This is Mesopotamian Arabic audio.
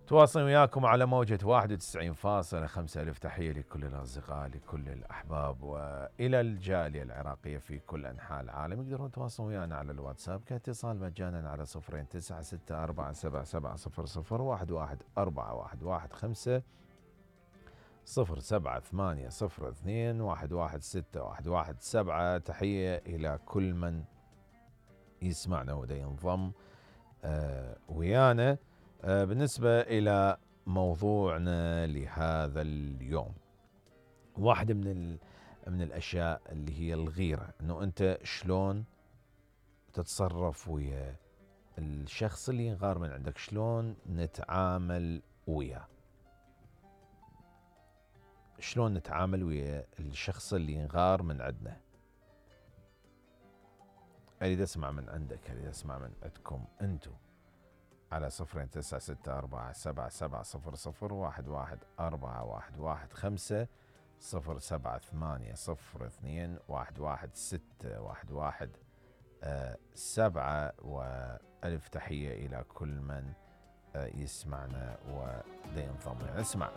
تواصل وياكم على موجة 91.5. ألف تحية لكل الأصدقاء، لكل الأحباب، وإلى الجالية العراقية في كل أنحاء العالم. يقدرون يتواصلون ويانا على الواتساب كاتصال مجانا على 09647700111415 07802117. تحية إلى كل من يسمعنا ودا ينضم ويانا. بالنسبة إلى موضوعنا لهذا اليوم، واحدة من الأشياء اللي هي الغيرة، أنه أنت شلون تتصرف ويا الشخص اللي ينغار من عندك، شلون نتعامل وياه، شلون نتعامل ويا الشخص اللي ينغار من عندنا. أريد أسمع من عندك، أريد أسمع من عندكم أنتم على 09647700111415 0780221117. وألف تحية إلى كل من يسمعنا وينضم. نسمع.